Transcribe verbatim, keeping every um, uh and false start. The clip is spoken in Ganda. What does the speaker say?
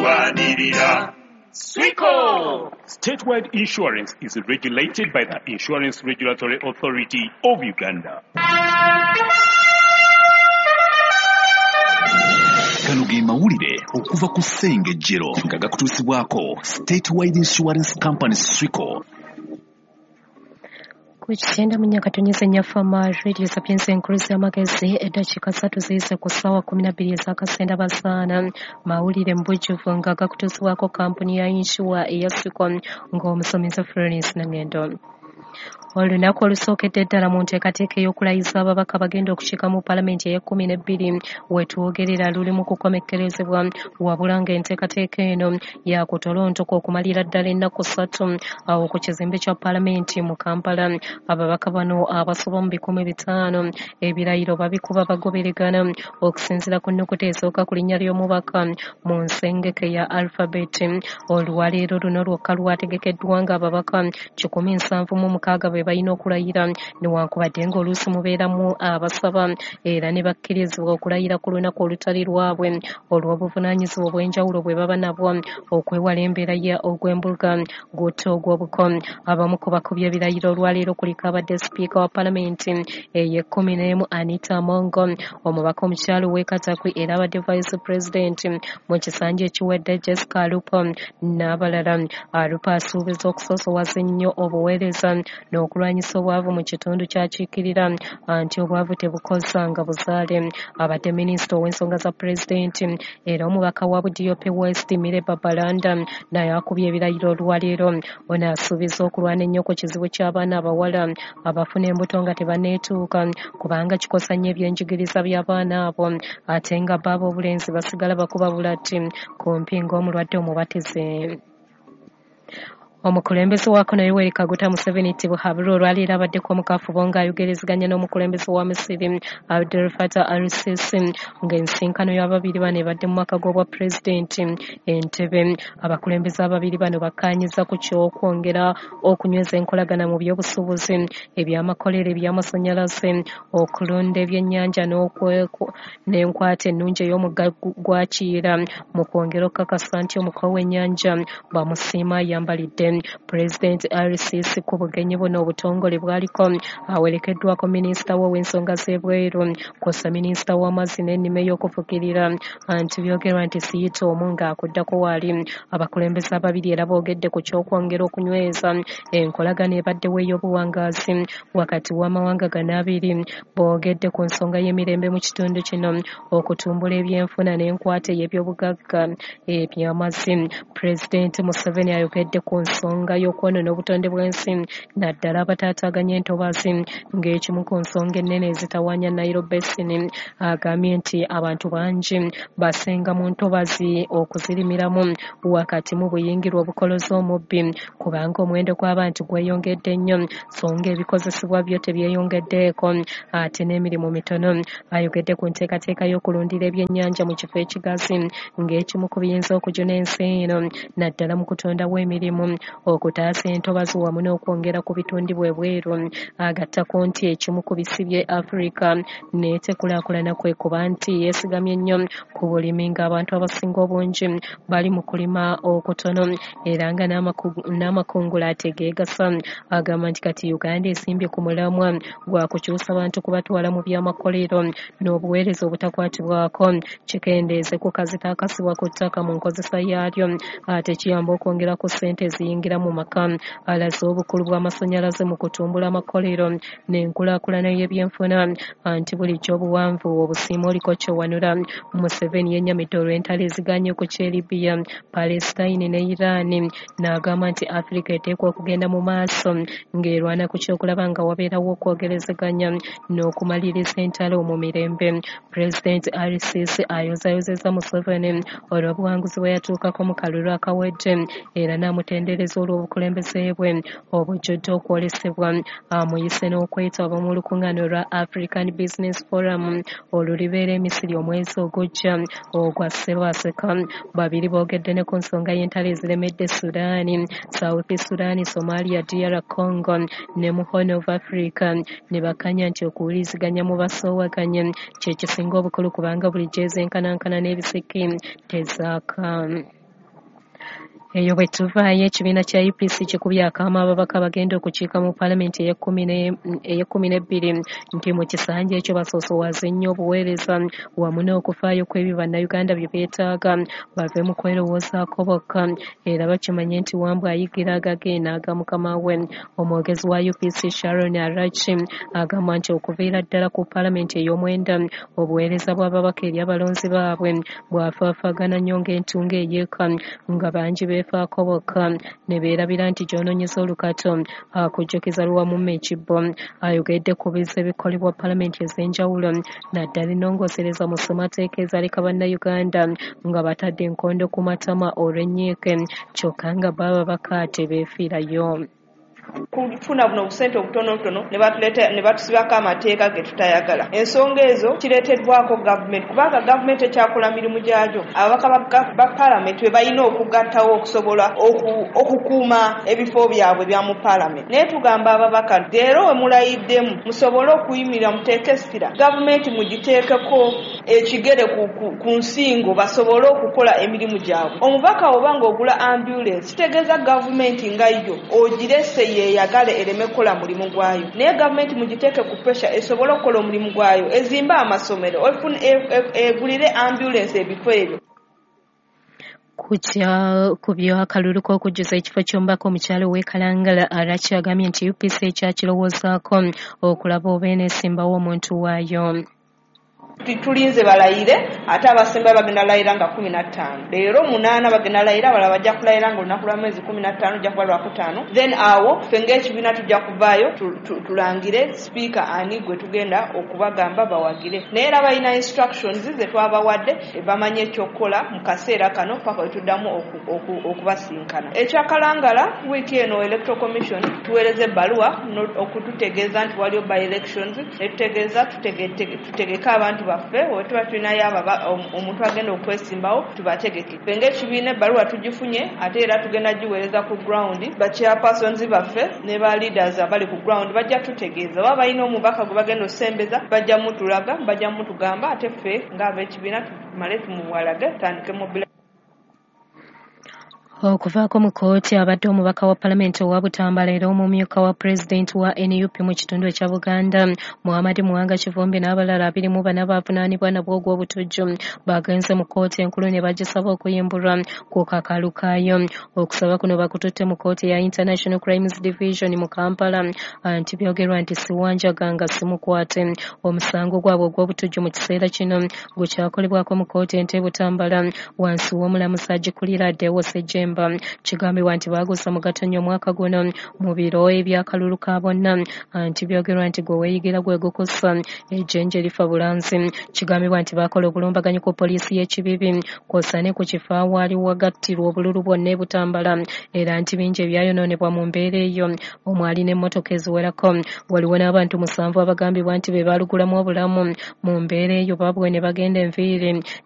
Tulwanirira Swico. Statewide Insurance is regulated by the Insurance Regulatory Authority of Uganda. Gano ge mawulire okuva ku Ssengejjero nga gakutuusibwako Statewide Insurance Company Swico. Ku kyenda mu nnya katonnyeze nnya Fama Radio Sapienza enkulu z'amagezi, eddakiika ssatu ziyise ku ssaawa kkumi na bbiri ez'akasenda basaana. Mawulire mu bujjuvu nga gakutuusibwako kampuni ya yinsuwa eya Swico ng'omusomesa Florence Nangendo. Olunaku olusookedde ddala mu nteekateeka ey'okulayiza ababaka bagenda okukiika mu paalamenti ey'ekkumi n'ebbiri wetwogerera luli mu kukomekkerezebwa, wabula ng'enteekateeka eno yakutolontoka okumalira ddala ennaku ssatu awo ku kizimbe kya paalamenti mu Kampala. Ababaka bano abasoba mu bikumi bitaano ebirayiro babikuba bagoberegana okusinziira ku nnukuta esooka ku linnya ly'omubaka mu nsengeke ya alphabet. Olwaleero luno lwokka lwategekeddwa ng'ababaka kikumi nsanvu mu mukaaga be balina okulayira, newankubadde ng'oluusi mubeeramu abasaba era ne bakkirizibwa okulayira ku lunaku olutali lwabwe olw'obuvunaanyizibwa obw'enjawulo bwe baba nabwo okwewala embeera ya ogw'embuga gutta ogw'obuko. Abamu ku bakubye ebirayiro olwaleero kuliko abadde sipiika wa paalamenti ey'ekkumi n'emu Anita Among, omubaka omukyala ow'e Katakwi era abadde vice president mu kisanja ekiwedde Jessica Alupo n'abalala. Alupo asuubiza okusoosowaza ennyo obuweereza n'okulwanyisa obwavu mu kitundu ky'akiikirira anti obwavu tebukozanga buzaale. Abadde minisita ow'ensonga za pulezidenti era omubaka wa Budiope West Mire Babalanda naye akubye ebirayiro olwaleero. Ono asuubiza okulwana ennyo ku kizibu ky'abaana abawala abafuna embuto nga tebanneetuuka kubanga kikosa nnyo ebyenjigiriza by'abaana abo, ate nga bo ab'obulenzi basigala bakuba bulati kumpi ng'omulwadde omubatize. Omukulembeze wa Kono Yoweri Kaguta Museveni Tibuhaburwa olwaleero abaddeko mu kafubo ng'ayogerezeganya n'omukulembeze wa Misiri Abdel Fattah al-Sisi ng'ensinkano y'ababiri bano ebadde mu maka g'obwa pulezidenti Entebbe. Abakulembeze ababiri bano bakkaanyizza ku ky'okwongera okunyweza enkolagana mu by'obusuubuzi, ebyamakolero, eby'amasannyalaze, okulunda ebyennyanja n'enkwata ennungi ey'omugga gwa Kiyira mu kwongera okukakasa nti omuko w'ennyanja bamusiima ayambalidde. Pulezidenti al-Sisi ku bugenyi buno obutongole bwaliko awerekeddwako minisita we ow'ensonga z'ebweru kw'ossa minisita w'amazzi n'ennima ey'okufukirira anti byogerwa nti siyita omu ng'akuddako waali. Abakulembeze ababiri era boogedde ku ky'okwongera okunyweza enkolagana ebaddewo ey'obuwangaazi wakati w'amawanga gano abiri. Boogedde ku nsonga y'emirembe mu kitundu kino, okutumbula ebyenfuna n'enkwata ey'ebyobugagga eby'amazzi. Pulezidenti Museveni ayogedde ku nsonga y'okwonoona obutonde bw'ensi naddala abataataaganya entobazi ng'ekimu ku nsonga ennene ezitawaanya Nile Basin. Agambye nti abantu bangi basenga mu ntobazi okuzirimiramu wakati mu buyingirwa obukoloza omubbi kubanga omuwendo gw'abantu gweyongedde nnyo so ng'ebikozesebwa byo tebyeyongeddeeko ate n'emirimu mitono. Ayogedde ku nteekateeka y'okulundira ebyennyanja mu kifo ekigazi ng'ekimu ku biyinza okujuna ensi eno naddala mu kutondawo emirimu, okutaasa entobazi wamu n'okwongera ku bitundibwa ebweru. Agattako nti ekimu ku bisibye Afrika n'etekulaakulana kwe kuba nti yeesigamye nnyo ku bulimi ng'abantu abasinga obungi bali mu kulima okutono era nga n'amakungula ategeegasa. Agamba nti kati Uganda esimbye ku mulamwa gwa kukyusa bantu kubatwala mu byamakolero n'obuweereza obutakwatibwako kikendeeze ku kazito akasibwa ku ttaka mu nkozesa yaalyo ate kiyamba okwongera ku ssente eziyingira mu maka. Alaze obukulu bw'amasannyalaze mu kutumbula amakolero n'enkulaakulana y'ebyenfuna anti bulijjo obuwanvu obusiima oliko kyowanula. Museveni yennyamidde olw'entalo eziganye ku ky'e Libya, Palestine ne Iran n'agamba nti Afrika eteekwa okugenda mu maaso ng'erwana ku ky'okulaba nga wabeerawo okwogerezeganya n'okumaliriza entalo mu mirembe. Pulezidenti al-Sisi ayozaayozezza Museveni olw'obuwanguzi bwe yatuukako mu kalulu akawedde era n'amutendereza olw'obukulembeze bwe obujjudde okwolesebwa. Amuyise n'okwetaba mu lukuŋŋaana olwa African Business Forum olulibeera e Misiri omwezi ogujja ogwa Ssebaaseka. Babiri boogedde ne ku nsonga y'entalo eziremedde Sudan, South Sudan, Somalia, D R Congo ne mu Horn of Africa ne bakanya nti okuwuliziganya mu basoowaganye kye kisinga obukulu kubanga bulijjo ezenkanankana n'ebisiki tezaaka. Eyo bwe tuvaayo, ekibiina kya U P C kikubye akaama ababaka bagenda okukiika mu paalamenti ey'ekkumi n'ebbiri nti mu kisanja ekyo basoosowaze nnyo obuweereza wamu n'okufaayo kw'ebyo bannayuganda bye beetaaga, bave mu kwerowoozaako bokka era bakimanye nti Wambwa ayigira agage n'aga mukama we. Omwogezi wa U P C Sharon Arachi agamba nti okuviira ddala ku paalamenti ey'omwenda obuweereza bw'ababaka eri abalonzi baabwe bwafaafaagana nnyo ng'entungo eyeeka, nga bangi beefaako bokka ne beerabira nti gy'onoonyeza olukato akujjukiza luwamumma ekibbo. Ayogedde ku biza ebikolebwa paalamenti ez'enjawulo naddala ennongoosereza mu ssemateeka ezaleka bannayuganda nga batadde enkondo ku matama olw'ennyiike, kyokka nga bo ababaka tebeefiirayo. Kufuna buno obusente obutonotono ne batuleeta ne batusibako amateeka ge tutayagala. Ensonga ezo kireeteddwako gavumenti, kubanga gavumenti ekyakola mirimu gyagyo. Ababaka ba paalamenti be balina okugattawo okusobola okukuuma ebifo byabwe bya mu paalamenti. Naye tugamba ababaka leero we mulayiddemu musobole okuyimirira muteeke essira, gavumenti mugiteekeko ekigere ku nsingo basobole okukola emirimu gyabwe. Omubaka oba ng'ogula ambulensi kitegeeza gavumenti nga yo ogirese yeyagale ereme kukola mulimu gwayo, naye gavumenti mugiteeke ku pressure esobole okukola omulimu gwayo, ezimbe amasomero, egulire ambulensi ebifo ebyo. Ku by'akalulu k'okujjuza ekifo ky'omubaka omukyala ow'e Kalangala, Arachi agambye nti U P C ekyakirowoozaako okulaba oba eneesimbawo omuntu waayo. Tulinze balayire, ate abasemba bagenda layira nga kumi na ttaano. Leero munaana bagenda layira, abalala bajja kulayira nga olunaku lwa mwezi kumi na ttaano ojja kuba lwakutaano. Then awo ffe ng'ekibiina tujja kuvaayo tulangire sipiika ani gwe tugenda okubagamba bawagire. Naye era balina instructions ze twabawadde bamanye ekyokukola mu kaseera kano paka we tuddamu okubasinkana. Ekya Kalangala, wiiki eno Electoral Commission tuweereza ebbaluwa okututegeeza nti waliyo by elections, netutegeeza tutegeke abantu baffe oba tuba tulinayo omuntu agenda okwesimbawo tubategeke. Ffe ng'ekibiina ebbaluwa tugifunye, ate era tugenda giweereza ku ground. Ba chairpersons baffe ne ba leaders abali ku ground bajja tutegeeza oba balina omubaka gwe bagenda osembeza, bajja mutulaga, bajja mutugamba, ate ffe ng'ab'ekibiina tumale tumuwalage tutandike mobile. Okuvaako mu kkooti abadde omubaka wa paalamenti owa Butambala era omumyuka wa pulezidenti wa N U P mu kitundu ekya Buganda Muhammad Muwanga Kivumbi n'abalala abiri mu bana bavunaanibwa nabwo ogw'obutujju bagenze mu kkooti enkulu ne bagisaba okuyimbulwa ku kakalu kaayo. Okusaba kuno bakututte mu kkooti ya International Crimes Division mu Kampala nti byogerwa nti siwanjaga nga simukwate. Omusango gwabwe ogw'obutujju mu kiseera kino gukyakolebwako mu kkooti ento e Butambala wansi w'omulamuzi agikulira Deo Ssejjemba. Kigambibwa nti baagusa mu Gatonnya omwaka guno mu biro eby'akalulu ka bonna nti byogerwa nti gwe weeyigira gwe gukusa ejjenje lifa bulanzi. Kigambibwa nti baakola obulumbaganyi ku poliisi y'ekibibi kw'ossa ne ku kifo awaali wagattirwa obululu bwonna e Butambala era nti bingi ebyayonoonebwa mu mbeera eyo omwali n'emmotoka eziwerako. Waliwo n'abantu musanvu abagambibwa nti be baalugulamu obulamu mu mbeera eyo babwe ne bagenda enviiri.